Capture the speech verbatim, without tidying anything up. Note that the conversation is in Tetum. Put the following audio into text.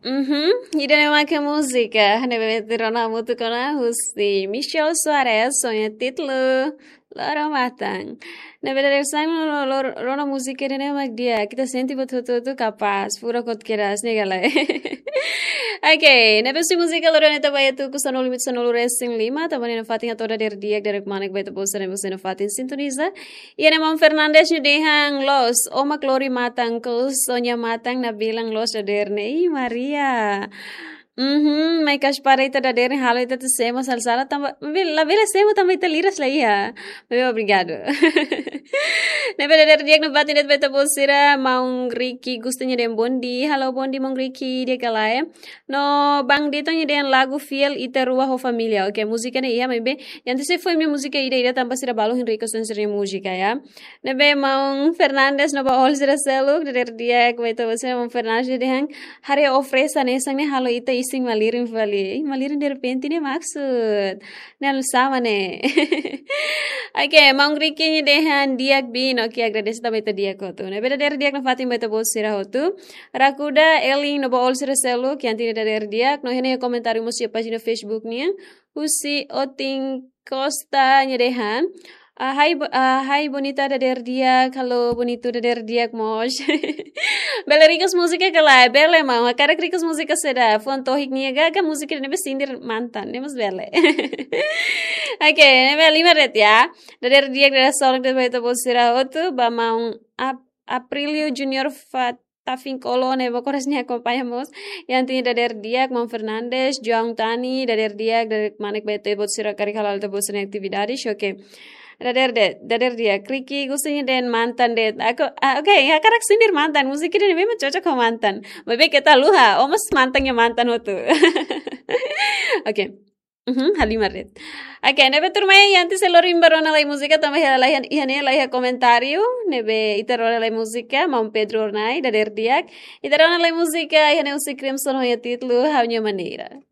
Mhm, ida-ne'e mak múzika ne'ebé ita rona hamutuk ona husi Michel Soares, ho nia títulu Loro Matan. Ne'ebé dadeer-saan lo, lo, rona múzika ida-ne'e mak di'ak, ita sente buat hotu-hotu kapás, furak hotu kedas, ne'e ka lae? Ok, ne'ebé husi múzika loron ne'e ita bá iha tuku sanulu-resin-lima, tanba ne'e nafatin hato'o dadeer di'ak, dadeer kmanek ba ita-boot sira ne'ebé husi nafatin sintoniza. Iha ne'e maun Fernandes nia dehan loos, ó mak lori matan, kos ó-nia matan nabilan loos dadeer ne'e. Ih, Maria. Mhm, mai kas para ita dadeer ne'e halo ita atu semo sala-sala tanba, maibé labele semo tanba ita liras la iha. Maibé obrigadu. Ne'ebé dadeer di'ak nafatin de'it ba ita-boot sira, maun Ricky Gusta nia dehan bom dia. Halo bom dia maun Ricky, di'ak ka lae? No Bang Dito nia dehan lagu Fiel Ita Rua ho Família. Ok, múzika ne'e iha, maibé ita sei foin mai múzika ida-ida tanba sira balu hein request ona sira-nia múzika, ya. Ne'ebé maun Fernandes no ba oin sira seluk, dadeer di'ak ba ita-boot sira, maun Fernandes dehan haree ó fresu hanesan ne'e halo ita isin malirin fali. Ih, malirin derrepente ne'e maksud. Ne'e hanesan ne'e. Ok, maun Ricky nia dehan di'ak bin, ok, agradese tanba ita di'ak hotu. Ne'ebé dadeer di'ak nafatin ba ita-boot sira hotu. Rakuda, Elin no ba oin sira seluk, iha ne'e dadeer di'ak, no iha ne'e komentáriu mós iha pájina Facebook nian. Husi Otin Costa nia dehan. Ah, hai bo-, ah, hai bonita dadeer di'ak, halo bonitu dadeer di'ak mós. Bele request múzika ka lae? Bele maun, hakarak request múzika saida, fuan tohik nian ka, ka múzika ne'ebé sindir mantan, ne'e mós bele. Ok, ne'ebé halimar de'it ya. Dadeer di'ak, dadeer solok de'it ba ita-boot sira hotu, ba maun Ap-, Aprilio Junior Fat Tafin Kolo ne'ebé oras ne'e akompaña mós. Iha ne'e dadeer di'ak, maun Fernandes, João Tani, dadeer di'ak, dadeer kmanek ba ita-boot sira karik hala'o ita-boot sira-nia atividade, oke. Dadeer de'it, dadeer di'ak, Ricky Gusta nia dehan mantan de'it. Aku, ah, ok, hakarak sindir mantan, múzika ida-ne'e memang cocok ho mantan. Maibé keta haluha, ó mós mantan nia mantan hotu. Ok. Mhm, halimar de'it. Ok, ne'ebé tuirmai, antes de lori ba rona lai múzika, tanba iha, iha, iha ne'e la iha komentáriu, ne'ebé ita rona lai múzika, maun Pedro Ornai, dadeer di'ak. Ita rona lai múzika, iha ne'e husi Crimson ho nia títulu Ha'u-nia Maneira.